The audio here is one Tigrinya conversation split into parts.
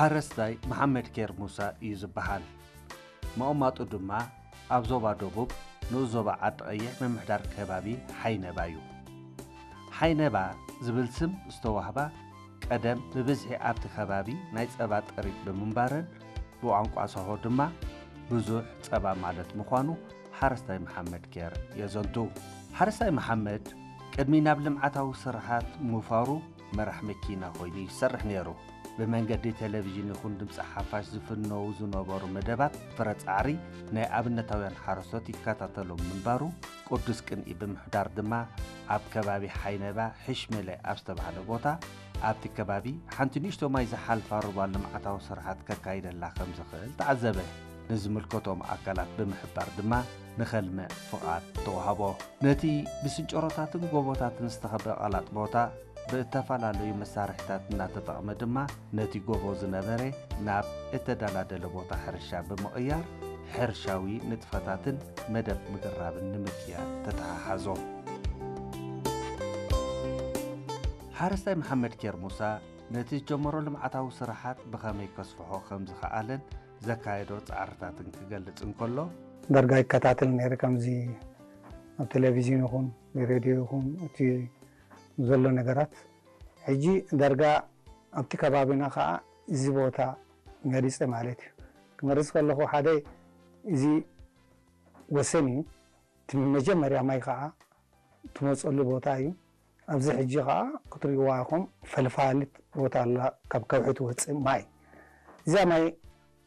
ሓረስታይ መሓመድ ኬር ሙሳ እዩ ዝበሃል። መቐማጡ ድማ ኣብ ዞባ ደቡብ ንኡስ ዞባ ዓዲ ቀይሕ ምምሕዳር ከባቢ ሓይነባ እዩ። ሓይነባ ዝብል ስም ዝተዋህባ ቀደም ብብዝሒ ኣብቲ ከባቢ ናይ ጸባ ጥሪት ብምንባረን ብቋንቋ ሳሆ ድማ ብዙሕ ጸባ ማለት ምዃኑ ሓረስታይ መሓመድ ኬር የዘንቱ። ሓረስታይ መሓመድ ቅድሚ ናብ ልምዓታዊ ስራሓት ምውፋሩ መራሕ መኪና ኮይኑ ይሰርሕ ነይሩ። ብመንገዲ ቴሌቪዥን ይኹን ድምፂ ሓፋሽ ዝፍነዉ ዝነበሩ መደባት ፍረ ፃዕሪ ናይ ኣብነታውያን ሓረስቶት ይከታተሎም ምንባሩ ቅዱስ ቅንኢ ብምሕዳር ድማ ኣብ ከባቢ ሓይነባ ሕሽመለ ኣብ ዝተባህለ ቦታ ኣብቲ ከባቢ ሓንቲ ንእሽቶ ማይ ዝሓልፋ ሩባ ልምዓታዊ ስራሓት ከካይደላ ከም ዝኽእል ተዓዘበ። ንዝምልከቶም ኣካላት ብምሕባር ድማ ንኸልምዕ ፍቓድ ተዋህቦ። ነቲ ብስንጨሮታትን ጎቦታትን ዝተኸበ ቀላጥ ቦታ ብእተፈላለዩ መሳርሒታት እናተጠቕመ ድማ ነቲ ጎቦ ዝነበረ ናብ እተደላደለ ቦታ ሕርሻ ብምቕያር ሕርሻዊ ንጥፈታትን መደብ ምግራብን ንምክያድ ተተሓሓዞ። ሓረስታይ መሓመድ ኬር ሙሳ ነቲ ዝጀመሮ ልምዓታዊ ስራሓት ብኸመይ ከስፍሖ ከም ዝኸኣለን ዘካየዶ ጻዕርታትን ክገልጽ እንከሎ፣ ዳርጋ ይከታተል ነይረ፣ ከምዚ ኣብ ቴሌቪዥን ይኹን ብሬድዮ ይኹን እቲ ዘሎ ነገራት። ሕጂ ዳርጋ ኣብቲ ከባቢና ከዓ እዚ ቦታ መሪፀ ማለት እዩ። ክመርፅ ከለኹ ሓደ እዚ ወሰን እዩ። እቲ መጀመርያ ማይ ከዓ ትመፀሉ ቦታ እዩ። ኣብዚ ሕጂ ከዓ ክትሪእዋ ኢኹም ፈልፋሊት ቦታ ኣላ፣ ካብ ከውሒ ትወፅእ ማይ። እዛ ማይ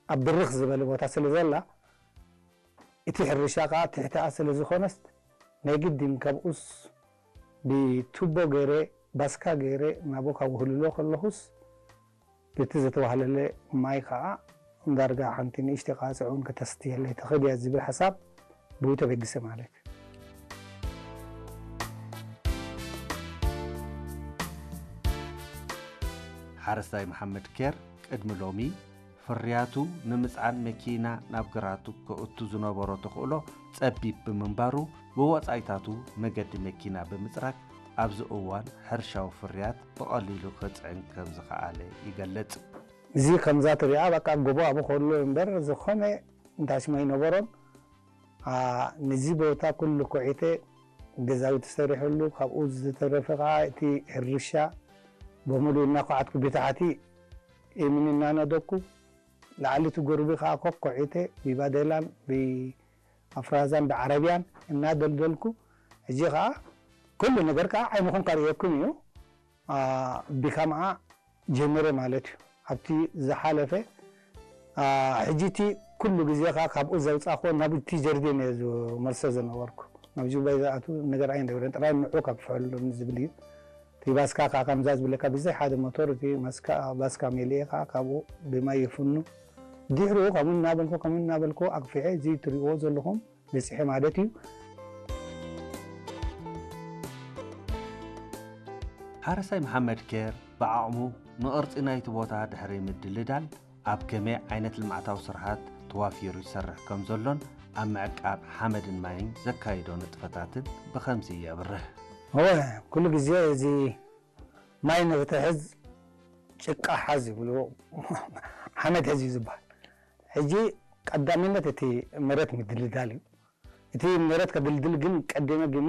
ኣብ ብርኽ ዝበለ ቦታ ስለ ዘላ እቲ ሕርሻ ከዓ ትሕቲኣ ስለ ዝኾነስ ናይ ግድን ካብኡስ ብቱቦ ገይረ ባስካ ገይረ ናቦ ካብ ውህልሎ ከለኹስ በቲ ዝተዋህለለ ማይ ከዓ ዳርጋ ሓንቲ ንእሽተይ ቃጽዕ እውን ከተስትየለይ ትኽእል እያ ዝብል ሓሳብ ብኡ ተበጊሰ ማለት እዩ። ሓረስታይ መሓመድ ኬር ቅድሚ ሎሚ ፍርያቱ ንምጽዓን መኪና ናብ ግራቱ ከእቱ ዝነበሮ ተኽእሎ ጸቢብ ብምንባሩ፣ ብወጻኢታቱ መገዲ መኪና ብምጽራግ ኣብዚ እዋን ሕርሻዊ ፍርያት ብቐሊሉ ከጽዕን ከም ዝኸኣለ ይገልጽ። እዚ ከምዛ ትሪኣ በቃ ጎቦ ኣብኡ ከሎ እምበር ዝኾነ እንታሽማ ኣይነበሮን። አ፣ ነዚ ቦታ ኩሉ ኮዒተ ገዛውቲ ሰሪሐሉ፣ ካብኡ ዝተረፈ ከዓ እቲ ሕርሻ በሙሉ እናኳዓትኩ ብታሕቲ እምኒ እናነደኩ ላዕሊ እቲ ጎርቢ ከዓ ኮኮዒተ ብባዴላን ብኣፍራዛን ብዓረብያን እናደልደልኩ፣ ሕጂ ከዓ ኩሉ ነገር ከዓ ዓይንኹም ከርእየኩም እዩ። አ፣ ብከምኣ ጀመረ ማለት እዩ። ኣብቲ ዝሓለፈ፣ አ፣ ሕጂ እቲ ኩሉ ግዜ ከዓ ካብኡ ዘውፃእክዎ ናብ እቲ ጀርዲን እየ ዝመልሶ ዝነበርኩ። ናብ ጁባ ዝኣቱ ነገር ኣይነበረን፣ ጥራይ ንዑ ከብፍሐሉ ዝብል እዩ። እቲ ባስካ ከዓ ከምዛ ዝብለካ ብዘይ ሓደ ሞቶር እቲ ማስካ፣ ባስካ መሊኤ ከዓ ካብኡ ብማይ ይፍኑ። ድሕሪኡ ከምኡ እናበልኩ፣ ከምኡ እናበልኩ ኣግፊሐ እዚ ትሪእዎ ዘለኹም በጺሐ ማለት እዩ። ሓረስታይ መሓመድ ኬር ብዓቕሙ ንቕርጺ ናይቲ ቦታ ድሕሪ ምድልዳል ኣብ ከመይ ዓይነት ልምዓታዊ ስርሓት ተዋፊሩ ይሰርሕ ከም ዘሎን ኣብ ምዕቃብ ሓመድን ማይን ዘካይዶ ንጥፈታትን ብኸምዚ የብርህ። እወ፣ ኩሉ ግዜ እዚ ማይ ንክትሕዝ ጭቃ ሓዝ ይብልዎ፣ ሓመድ ሕዝ እዩ ዝበሃል። ሕጂ ቀዳምነት እቲ መሬት ምድልዳል እዩ። እቲ መሬት ከድልድል ግን ቀደመ ግን